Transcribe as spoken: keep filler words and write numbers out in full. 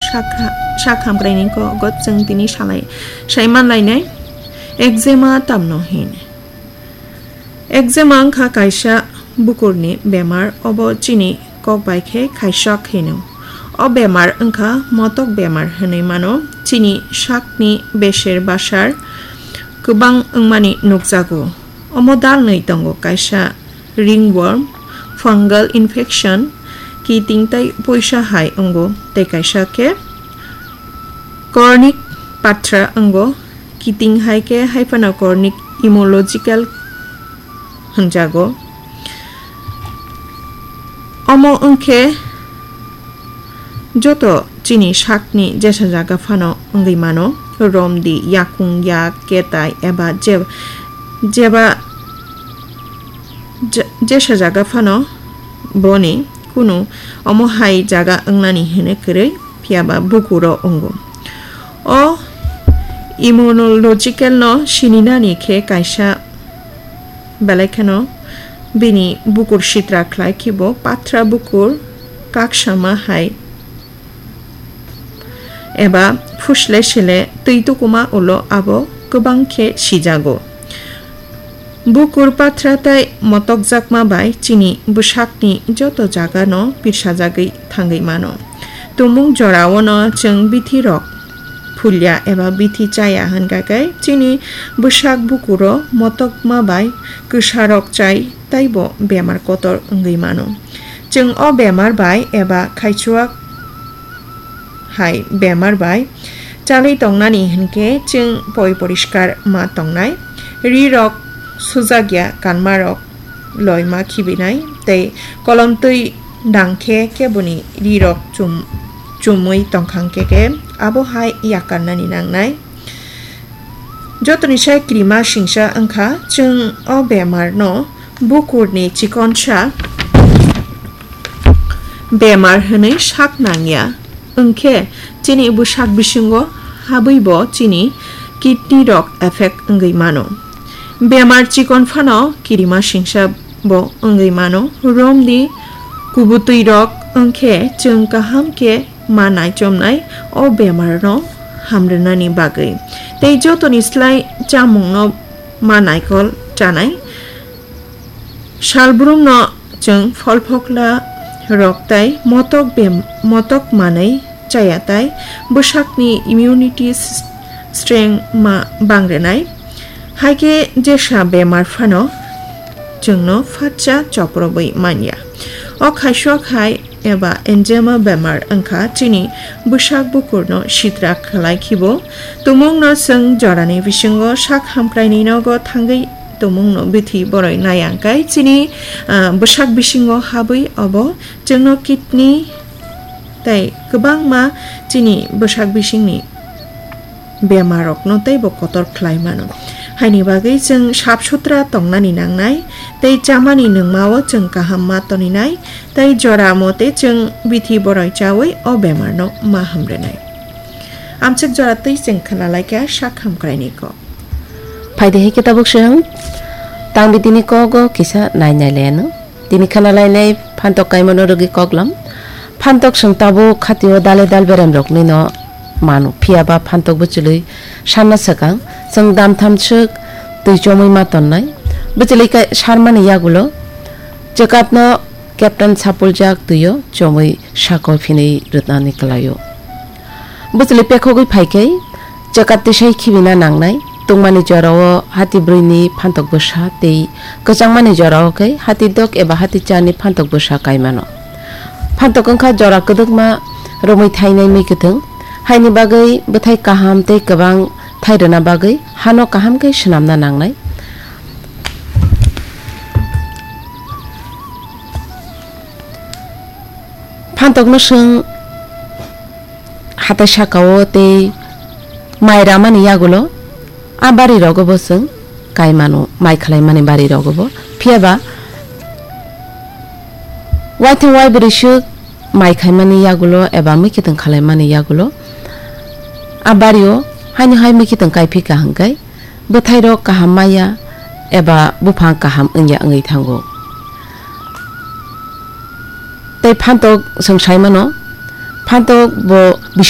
Sakha-, sak hamkraini kok got chwng tini salai, sai manlainai. Eczema tamno hin. Eczema wngkha kaisa bukurni bemar, obo chini kok bai khe khaisok hino. O bemar wngkha motok bemar hinwi mano. Chini sakni beser basar kwbang wngmani nukjago. Omo dalnwi tongo, kaisa ringworm, fungal infection, kiting tei poisa hai wngo, tei kaisa khe chronic patra wngo, kiting hai khe hai phano chronic immunological hwnjago. Omo wngkhe joto chini sakni jesa jaga phano wngwi mano, romdi, yakung yak, ketai eba je-, jeba je-, jesa jaga phano boni kunu omo hai jaga wngnani hwnwi kwrwi, phiyaba bukuro wngo. O immunological no sininani khe kaisa belai kheno bini bukur sitra khlai khibo patra bukur kaksama hai eba phusle sele twi tukuma ulo abo kwbang khe sijago. Bukur patra tei motokjakma bai chini bwsakni joto jagano pirsajagwi thangwi mano. Tumung joraono chwng bithirok phulya eba bithi chaya hwnkha khe chini bwsak bukuro motokma bai kwsarok chai teibo bemar kotor wngwi mano. Chwng o bemar bai eba khaichuak hai bemar bai chalwi tongnani hwnkhe chwng poi poriskar ma tongnai, rirok sujakya kanmarok loima khibinai tei kolomtwi dangkhe keboni rirok chum-, chumwi tongkhang khe khe abo hai yakarnani nangnai. Jotoni sai kirima singsa wngkha, chwng o bemar no bukur ni chikonsa bemar hwnwi sak nangya, wngkhe chini bwsak bisingo habwi bo chini kidney rok affect wngwi mano. Bemar chikon phano kirima singsa bo wngwi mano, romni kubutwi rok wngkhe chwng kaham khe ma naichomnai o bemar no hamrwnani bagwi, tei jotoni slai chamung no ma naikol chanai. Salbrum no chwng pholphokla rok tai motok bem-, motok manwi chaya tai bwsakni immunity s-, strength ma bangrenai. Haikhe jesa bemar phano chwngno phatsa choprobwi manya. O khaisok hai eba eczema bemar wngkha chini bwsak bukurno sitra khlai khibo. Tumungno chwng jorani bisingo sak hamkraini nogo thangwi tumungno bithi boroi nayang kai chini, ah, bwsak bisingo habwi obo chwngno kidney tei kwbangma chini bwsak bisingni bemarokno teibo kotor khlai mano. Haini bagwi chwng sap sutra tongnani nangnai tei chamani nungmao chwng kaham ma toninai tei jora mote chwng bithi boroi chawi o bemarno ma hamrwnai. Amchik jora twi chwng khna laikha sak hamkraini kok. Phaidi hai khe tabuk chwng tang bitini kogo kisa nai nai leno. Tini khana lainai phantok kaimano rwgwi koklam. Phantok chwng tabuk khatio dale dal berem rokni no mano. Phiya ba phantok bwchwlwi sanna swkang chwng dam tham swk twi chomwi ma tonnai. Bwchwlwi kai sarmani yagulo chwkatno captain sapuljak twio chomwi sako phinwi rwtnani kwlaio. Bwchwlwi pekhogwi phaikhai, chwkat tisai khibina nangnai. Tungmani jorao hati brwini phantok bwsa tei kwchangmani jorao khe hati dok eba hati charni phantok bwsa kaimano. Phantok wngkha jora kwdwkma romwi thainai mwi kwthwng. Haini bagwi bwthai kaham tei kwbang thai rwna bagwi hano kaham khe swnamna nangnai. Phantok no chwng hatai sakao tei mai ramani yagulo a bari rogo bo chwng kai mano, mai khlai mani bari rogo bo. Phiya ba waithang wai bwrwi swk mai khai mani yagulo eba mui khitwng khlai mani yagulo a bario haino hai mui khitwng kai phi ka hwnkhe bwthairok kaham maya eba buphang kaham wngya wngwi thango. Tei phantok chwng sai mano, phantok bo bising